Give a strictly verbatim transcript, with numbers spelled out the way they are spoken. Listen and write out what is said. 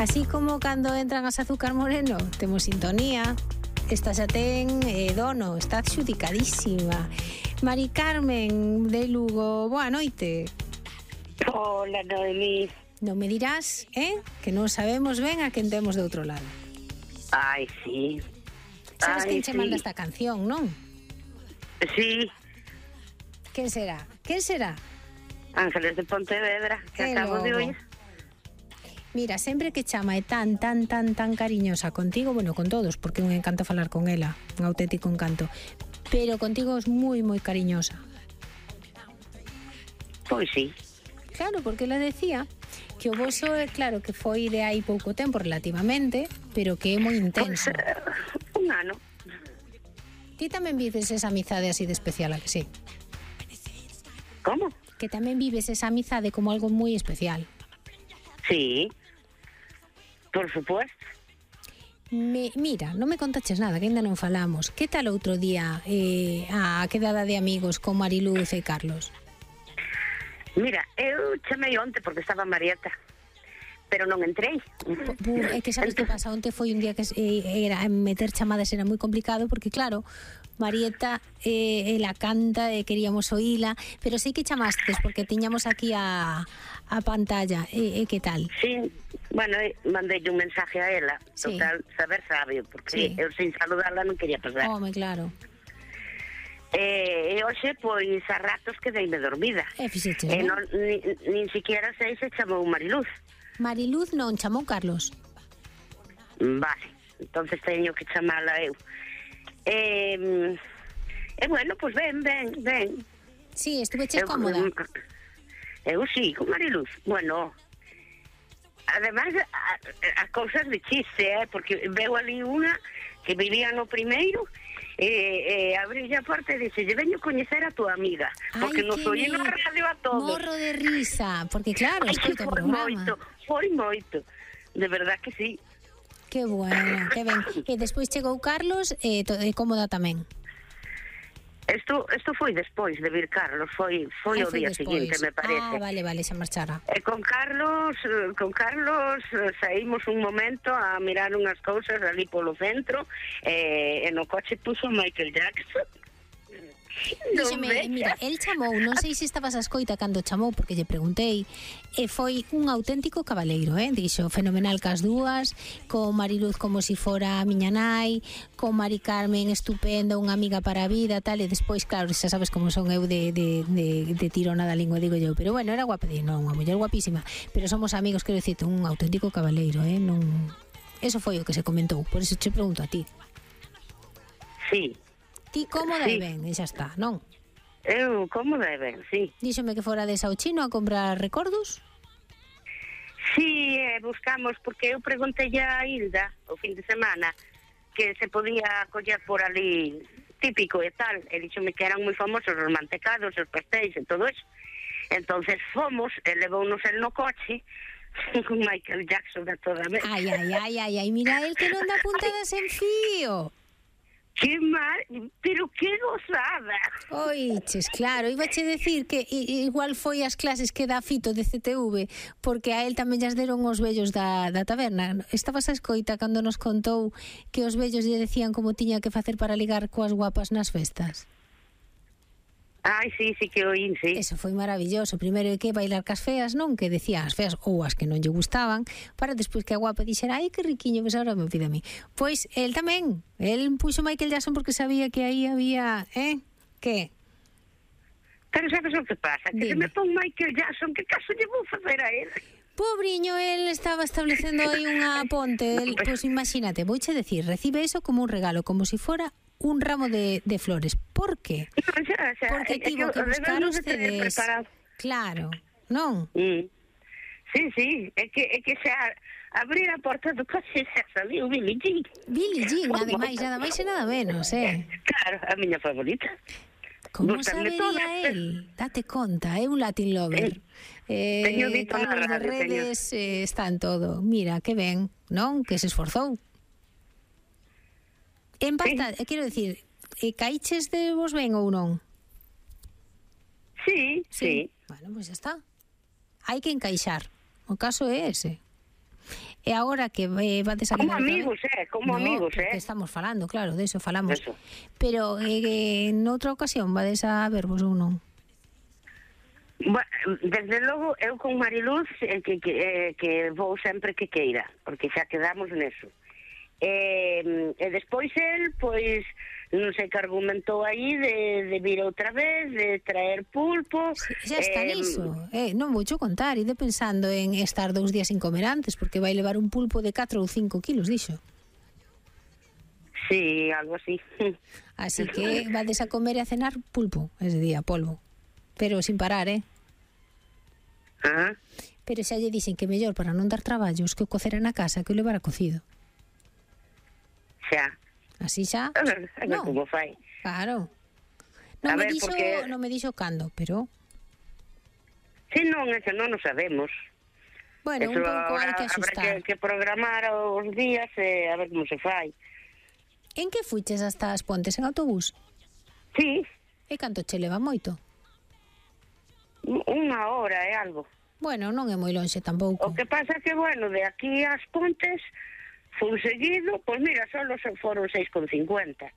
Así como cando entran as Azúcar Moreno, temos sintonía. Esta xa ten eh, dono, está adxudicadísima. Mari Carmen de Lugo, boa noite. Hola, Noemí. Non me dirás, eh, que non sabemos ben a quen temos de outro lado. Ai, sí. Sabes Ai, quen che sí. manda esta canción, non? Sí, Quen será? Quen será? Ángeles de Pontevedra, que Que acabo de logo. oír. Mira, sempre que chama é tan, tan, tan, tan cariñosa contigo, bueno, con todos, porque é un encanto falar con ela, un auténtico encanto, pero contigo é moi, moi cariñosa. Pois sí. Claro, porque ela decía que o voso, é claro, que foi de hai pouco tempo relativamente, pero que é moi intenso. Pois, eh, un ano. Ti tamén vives esa amizade así de especial, a que sí? Como? Que tamén vives esa amizade como algo moi especial. Sí. Por supuesto. Me, mira, non me contaches nada, que ainda non falamos. Que tal outro día eh, a quedada de amigos con Mariluz e Carlos? Mira, eu chamei onte porque estaba Marieta, pero non entrei. Bu, é que sabes que pasa, onte foi un día que eh, era meter chamadas era moi complicado porque claro, Marieta eh, ela canta e queríamos oíla, pero sei que chamastes porque tiñamos aquí a, a pantalla. E, e que tal? Sí, bueno, eh, mandei un mensaje a ela. Sí. Total, saber sabio, porque Sí. eu sin saludarla non quería pasar. Home, claro. E, e hoxe, pois, a ratos quedeime dormida. E fixeches, E non? non, ni, nin siquiera sei se chamou Mariluz. Mariluz non chamou Carlos. Vale, entonces teño que chamala eu. E, e bueno, pois ben, ben, ben. Sí, estuveches Eu- cómoda. Eu sí, con Mariluz. Bueno, además, a- as cousas de chiste, eh, porque veo ali unha que vivía no primeiro e, e abrí a porta e dixe, lle veño coñecer a tua amiga, porque Ai, nos que oí na me- radio a todos. Morro de risa, porque claro, Ai, que escoito o foi programa. moito, foi moito. De verdad que sí. Que bueno, que ben. E despois chegou Carlos e, to, e cómoda tamén. Isto, isto foi despois de vir Carlos, foi foi Ai, o foi día despois. seguinte, me parece. Ah, vale, vale, xa marchara. E con Carlos, eh, con Carlos eh, saímos un momento a mirar unhas cousas ali polo centro e, e no coche puso Michael Jackson. Díxeme, Non mira, vexas. el chamou, non sei se estabas a escoita cando chamou, porque lle preguntei, e foi un auténtico cabaleiro, eh? Dixo, fenomenal cas dúas, con Mariluz como si fora a miña nai, con Mari Carmen estupenda, unha amiga para a vida, tal, e despois, claro, xa sabes como son eu de, de, de, de tirona da lingua, digo eu, pero bueno, era guapa, non, unha muller guapísima, pero somos amigos, quero dicirte, un auténtico cabaleiro, eh? Non... Eso foi o que se comentou, por eso te pregunto a ti. Sí, Ti cómoda e Sí. ben, e xa está, non? eu como deben, sí. Díxome que fora de Sauchino a comprar recordos. Sí, eh, buscamos, porque eu preguntei a Hilda o fin de semana que se podía coller por ali típico e tal, e díxome que eran moi famosos os mantecados, os pastéis e todo eso. Entonces fomos, e levounos el no coche con Michael Jackson a toda vez. Ai, ai, ai, ai, ai, mira el que non dá puntadas en fío. Que mal, pero que gozada. Oiches, claro, ibache decir que i- igual foi as clases que dá Fito de C T V, porque a él tamén llas deron os vellos da, da taberna. Estabas a escoita cando nos contou que os vellos lle decían como tiña que facer para ligar coas guapas nas festas? Ai, sí, sí que oín, sí. Eso foi maravilloso. Primeiro é que bailar cas feas, non? Que decía as feas ou as que non lle gustaban, para despois que a guapa dixera, ai, que riquiño, pues ahora me pide a mí. Pois, el tamén. El puxo Michael Jackson porque sabía que aí había, eh? Que? Pero sabes o que pasa? Que se Dime. me pon Michael Jackson, que caso lle vou facer a él? Pobriño, el estaba establecendo aí unha ponte. El, pois imagínate, vouche decir, recibe eso como un regalo, como si fora un ramo de, de flores. Por qué? No, xa, xa, Porque é que tivo que o buscar debemos os de tener C Ds. preparado. Claro, non? Mm. Sí, sí, é que, é que xa abrir a porta do coche xa saliu Billie Jean. Billie Jean, nada máis, nada máis e nada menos, eh? Claro, a miña favorita. Como Gústanme sabería todas. él? Date conta, é un Latin lover. Eh, teño dito na Carlos de radio, redes eh, está en todo. Mira, que ben, non? Que se esforzou. En pasta, sí. Quero dicir, eh, caiches de vos ben ou non? Sí, sí. Bueno, pois pues xa está. Hai que encaixar. O caso é ese. E agora que eh, vades a Como quedar... amigos, eh, como no, amigos, eh. estamos falando, claro, de eso falamos. Eso. Pero eh, en outra ocasión vades a vervos ou non? Bueno, desde logo, eu con Mariluz eh, que, que, eh, que vou sempre que queira, porque xa quedamos neso. E, e despois el, pois, non sei que argumentou aí de, de vir outra vez, de traer pulpo. Sí, xa está eh, niso. Eh, non vou cho contar, ide pensando en estar dous días sin comer antes, porque vai levar un pulpo de catro ou cinco kilos, dixo. Sí, algo así. Así que vades a comer e a cenar pulpo ese día, polvo. Pero sin parar, eh? Ajá. Pero xa lle dixen que mellor para non dar traballos que o cocera na casa que o levara cocido. Xa. Así xa? A ver, a ver No. como fai. Claro. Non A me ver, dixo, porque- non me dixo cando, pero Si non, eso non o sabemos. bueno, un Eso pouco hai agora que habrá axustar. que, que programar os días e a ver como se fai. En que fuches hasta as Pontes en autobús? Sí, E canto che leva moito? unha hora e algo. Bueno, non é moi lonxe tampouco. O que pasa que, bueno, de aquí ás Pontes fun seguido, pois mira, só foron seis con cincuenta.